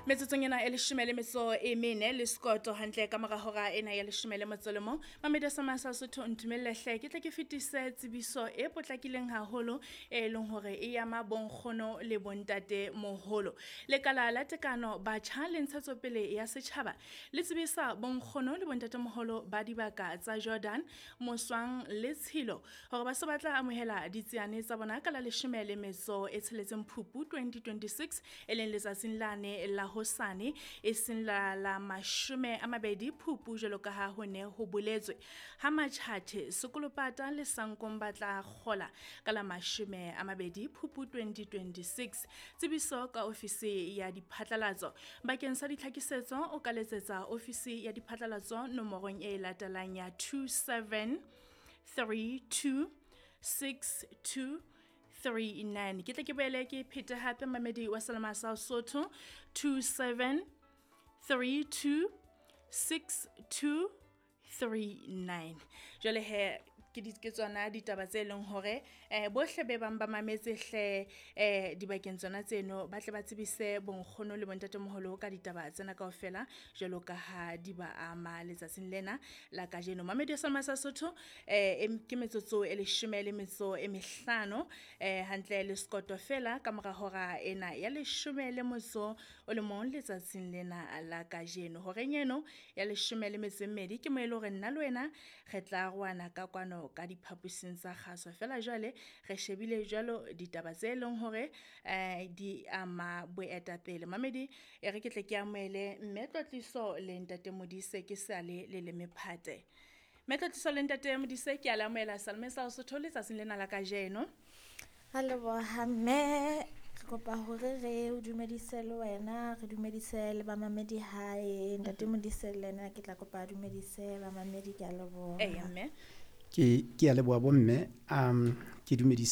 Metsotsong ena e leshome le metso e mene le sekoto hantle ka mora hora ena ya leshome le motso le mong. Mamedi sa masa Sotho, ntumelle hle ke tle ke fetise tsebiso e potlakileng haholo e leng hore e ama bonkgono le bontate moholo. Lekala la tekano batjha le ntshetsopele ya setjhaba le tsebisa bonkgono le bontate moholo ba dibaka tsa Jordan, Moswang le Tshilo hore ba se ba tla amohela ditsiane tsa bona ka la leshome le metso e tsheletseng Phupu 2026, e leng letsatsing lane la hosane, e seng la la 20 Phupu jwalo ka ha ho ne ho boletswe. Ha Matjhatjhe, Sekolopata le Sankong ba tla kgola ka la 20 Phupu 2026. Tsebiso ka ofisi ya diphatlalatso. Bakeng sa ditlhakisetso o ka letsetsa ofisi ya diphatlalatso nomorong e latelang ya 27 32 62 39. Ke tle ke boele ke phete hape, mamedi wa Selema sa Sotho, 27 32 62 39. Jwale he ke di ke tsona ditaba tse leng hore bohle be bang ba mametse hle dibakeng tsona tseno, ba tle ba tsebise bonkgono le bontatemoholo ka ditaba tsena kaofela jwalo ka ha di ba ama letsatsing lena la kajeno. Mamedi wa sa Sotho, ke metsotso e leshome le metso e mehlano hantle le sekoto fela ka mora hora ena ya leshome le motso o le mong letsatsing lena la kajeno. Horeng eno ya leshome le metso e mmedi ke mo e le hore nna le wena re tla roana ka kwano ka diphaposing tsa kgaso. Fela jwale re shebile jwalo ditaba tse leng hore di ama boetapele. Mamedi, e re ke tle ke amohele mme Tlotliso le ntate Modise ke sale le le mephate. Mme Tlotliso le ntate Modise, ke a le amohela Salome sa Sotho letsatsing lena la kajeno. Ra leboha mme, re kopa hore re o dumedise le wena, re dumedise le bamamedi hae. Ntate Modise le ena ke tla kopa a dumedise bamamedi, ke a leboha. Eya mme. Ke a leboha bomme, ke dumedise